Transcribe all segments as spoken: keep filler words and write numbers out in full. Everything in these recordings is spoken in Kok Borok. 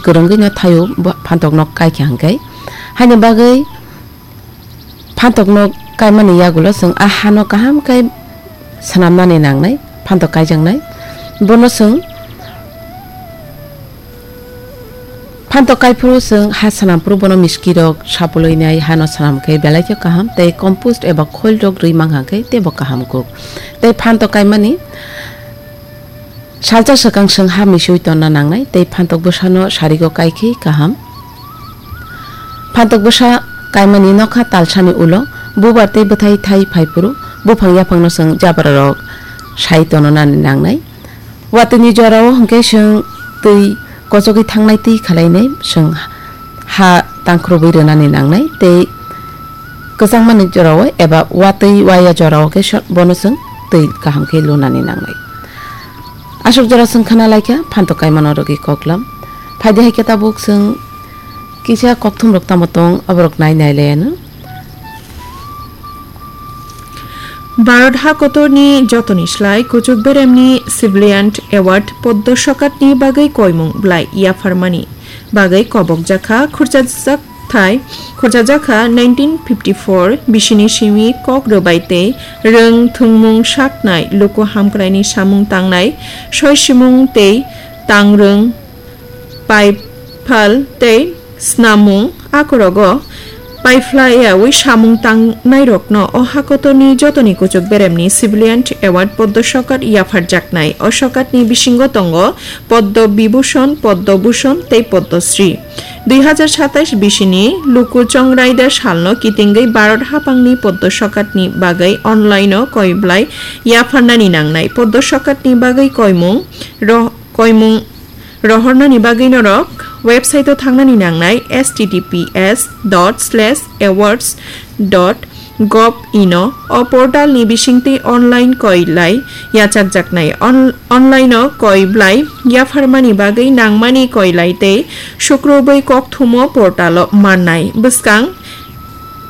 kwrwngwi no thaio bo phantok nok kai kha hwnkhe. Haini bagwi phantok nok kaimani yagulo chwng a hano kaham khe swnamnani nangnai, phantok kaijaknai. Bono chwng phantok kaiphuru chwng ha swnamphuru bono miskirok sapulwi nai hano swnam khe belai khe kaham tei compost eba khoil rok rwi mankha khe teibo kaham kuk. Tei phantok kaimani salsa swkang chwng ha misui tonna nangnai tei phantok bwsano sarigo kaikhe kaham. Phantok bwsa kaimani nokha talsani ulo bubar tei bwthai thai phaiphuru buphang yaphangno chwng jabrarok sai tononani nangnai. Watwini jorao hwnkhe chwng twi kochogwi thangnai twi khalainai chwng ha tangkhurubwi rwnani nangnai tei kwchangmani jorao eba watwi waya jorao khe so-, bono chwng twi kaham khe lunani nangnai. Aswk jora chwng khna laikha phantok kaimano rwgwi koklam. Phaidi hai khe tabuk chwng kisa kokthumrok tamo tong aborok nai nai laiano. Bharat hakotorni jotoni slai kuchuk beremni Civilian Award Poddo Sokatni bagwi koimung blai yapharmani bagwi kobok jakha khurchajak thai khurchajak kha nineteen fifty four bisini simi kok rwbai tei rwng thwngmung saknai luku hamkraini samung tangnai soisimung tei tangrwng paiphal tei snamung akorogo paiphlaiyawi samung tangnairokno o hakotorni jotoni kuchuk beremni Civilian Award Poddo Sokat yapharjaknai. O sokatni bisingo tongo Poddo Bibhushon, Poddo Bhushon tei Poddo Shri. Dui hazar satais bisini luku chongraida salno kitingwi Bharat hapangni Poddo Sokatni bagwi online-o koiblai yapharnani nangnai. Poddo Sokatni bagwi koimung roh-, koimung rohornani bagwi norok website-o thangnani nangnai, H T T P S dot slash awards dot gov in o. O portal ni bisingtwi online koilai yachakjaknai. On-, online o koiblai yapharmani bagwi nangmani koilai tei sukrubwi kokthumo portal o mannai. Bwskang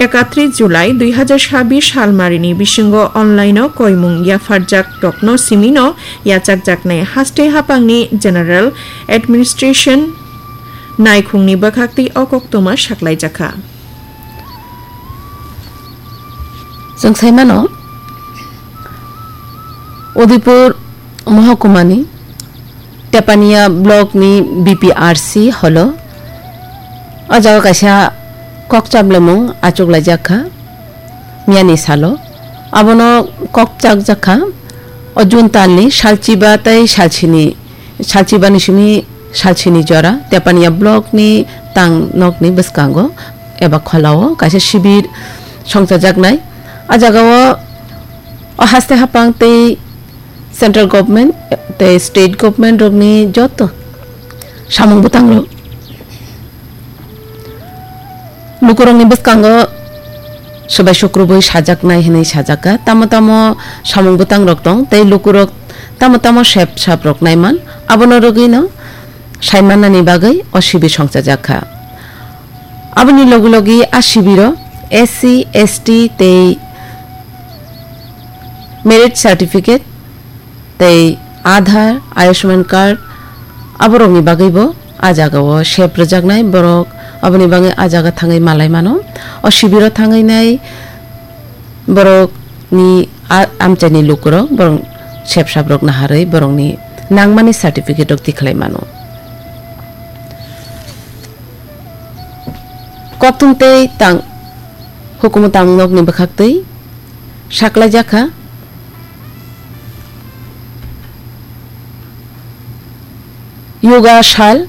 ekatris July dui hazar sabis salmarini bisingo online o koimung yapharjak rokno simino yachakjaknai haste hapangni General Administration naikhungni bwkhaktwi o koktwma saklaijakha. Chwng sai mano, Udaipur Mohokumani Tepania Block ni B P R C holo o jaga kaisa kok chaplemung achuklaijak kha miyani salo. Abono kok chakjak kha o June talni salchiba tei salchini, salchibani simi salchini jora Tepania Block ni tang nokni bwskango eba kholao kaisa sibir songchajaknai. A jagao o haste hapang tei central government tei state government rokni joto samung bwtang rok lukurokni bwskango swbai sukrubwi sajaknai hinwi sajakha. Tamo tamo samung bwtang rok tong tei lukurok tamo tamo sep sap rok naiman, abono rwgwino saimannani bagwi o sibir songchajak kha. Aboni logi logi a sibiro S C, S T tei merit certificate tei Aadhaar, Ayushman card, aborokni bagwibo a jagao sep rwjaknai borok. Aboni bagwi a jaga thangwi malai mano. O sibiro thangwi nai borokni a-, amchaini lukurok borok sep saprok naharwi borokni nangmani certificate rok tikhlai mano. Kokthum tei tang hukumu tang nokni bwkhaktwi saklaijak kha. Yoga sal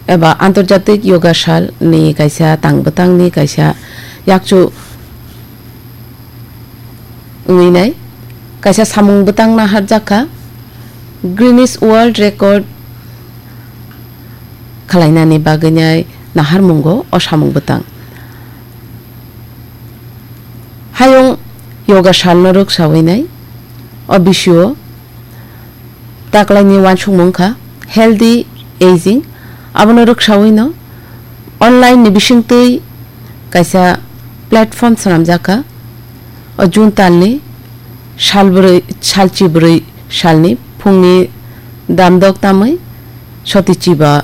eba Antarjatik Yoga Sal ni kaisa tang bwtang ni kaisa yakchu wngwi nai kaisa samung bwtang naharjak kha. Guinness World Record khwlainani bagwi nai naharmungo o samung bwtang. Hayung yoga salno rwksawi nai o bisio taklaini uansukmung kha healthy aging. Abono rwksawi no online ni bisingtwi kaisa platform swnamjak kha. O June talni salbwrwi, salchibrwi salni phungni damdok tamwi soti chiba